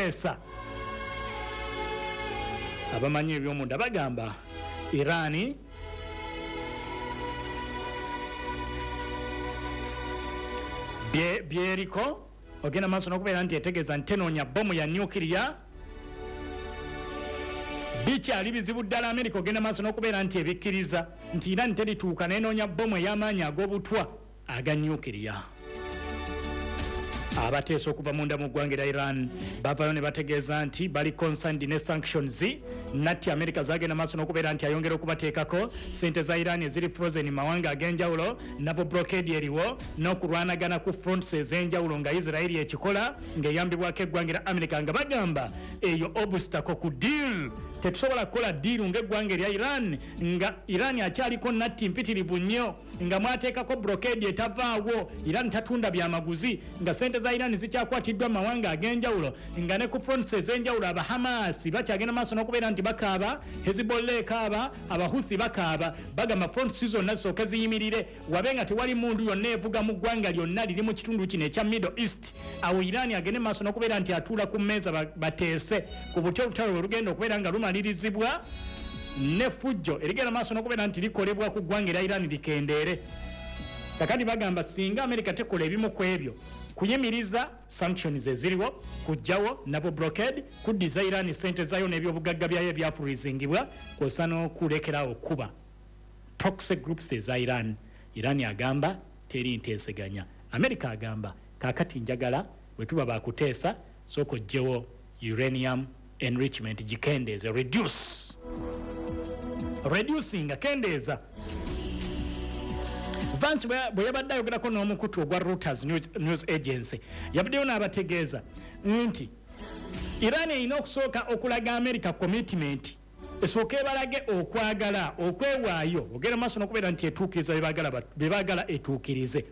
kuteesa. Abamanyi ebyomunda bagamba Irani byeriko ogenda maaso n'okubeera nti etegeeza nti tenoonya bomu ya nuclear. Bikyali bizibu ddala Amerika ogenda maaso n'okubeera nti ebikkiriza nti Iran terituuka n'enoonya bomu ey'amaanyi ag'obutwa aga nuclear. Abateesa okuva munda mu ggwanga erya Iran bavayo ne bategeeza nti bali concerned ne sanctions natti America zagenda maaso n'okubeera nti ayongera okubateekako. Sente za Iran eziri frozen mu mawanga ag'enjawulo, naval blockade eriwo, n'okulwanagana ku fronts ez'enjawulo nga Israeli ekikola ng'eyambibwako eggwanga erya America, nga bagamba eyo obstacle ku deal. Tetusobola kukola deal ng'eggwanga erya Iran nga Iran akyaliko natti mpitirivu nnyo, nga mwateekako blockade etavaawo, Iran tatunda byamaguzi, nga sente za Iran zikyakwatiddwa mu mawanga ag'enjawulo, nga ne ku fronts ez'enjawulo Abahamasi bakyagenda maaso n'okubeera nti bakaaba, Hezbollah ekaaba, Abahuthi bakaaba. Bagamba fronts zonna zisooke ziyimirire, wabe nga tewali mundu yonna evuga mu ggwanga lyonna liri mu kitundu kino ekya Middle East. Awo Iran agende maaso n'okubeera nti atuula ku mmeeza bateese ku butya olutalo lwe lugenda okubeera nga lumalirizibwa, n'effujjo erigenda maaso n'okubeera nti likolebwa ku ggwanga erya Iran likendeere. Kakati bagamba singa America tekola ebimu ku ebyo, kuyimiriza sanctions eziriwo, kujjawo naval blockade, kuddiza Iran sente zayo n'ebyobugagga byayo ebyafreezingibwa, kwosa n'okulekerawo okuba proxy groups eza Iran. Iran agamba teri nteeseganya. America agamba kaakati njagala bwe tuba bakuteesa, sooka oggyewo uranium enrichment, gikendeeze, reduce, reducinga, kendeeza. Vance bwe yabadde ayogerako n'omukutu ogwa Reuters News Agency, yabaddeyo n'abategeeza nti Iran erina okusooka okulaga America commitment, esooka ebalage okwagala okwewaayo ogenda maaso n'okubeera nti etuukiriza bye baagala etuukirize,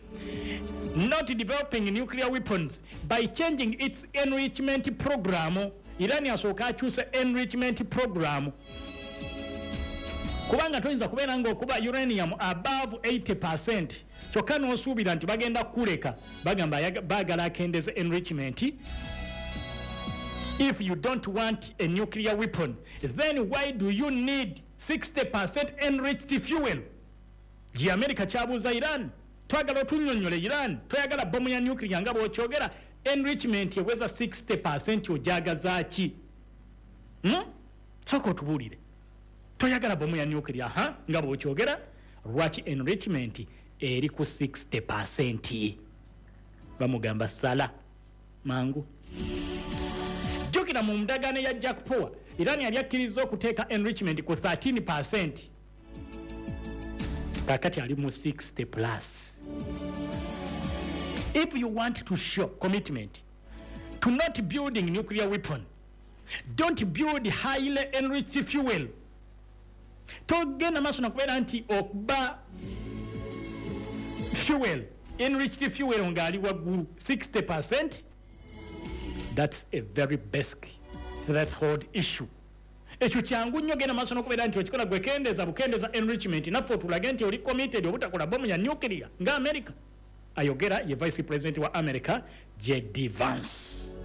not developing nuclear weapons by changing its enrichment program. Iran asooka akyuse enrichment program, kubanga toyinza kubeera ng'okuba uranium above 80% kyokka n'osuubira nti bagenda kukuleka. Bagamba baagala akendeze enrichment. If you don't want a nuclear weapon, then why do you need 60% enriched fuel? Ye America kyabuuza Iran. Twagala otunnyonnyole, Iran, toyagala bomu ya nuclear nga bw'okyogera, enrichment eweza 60% ojagaza ki? Sooka otubuulire, toyagala bomu ya nuclear ha nga bw'okyogera, lwaki enrichment eri ku 60%? Bamugamba sala mangu. Jjukira mu ndagaano ya Jack Power, Iran yali akkiriza okuteeka enrichment ku 13%, kakati ali mu 60 plus. If you want to show commitment to not building nuclear weapon, don't build highly enriched fuel. Togenda maaso nakubeera nti okuba fuel, enriched fuel ng'ali waggulu 60%. That's a very basic threshold issue. Ekyo kyangu nnyo, genda maaso n'okubeera nti okikola gwe kendeeza bukendeza enrichment, naffe otulage nti oli committed obutakola bomu ya nuclear nga America. Ayogera ye vice president wa America, JD Vance.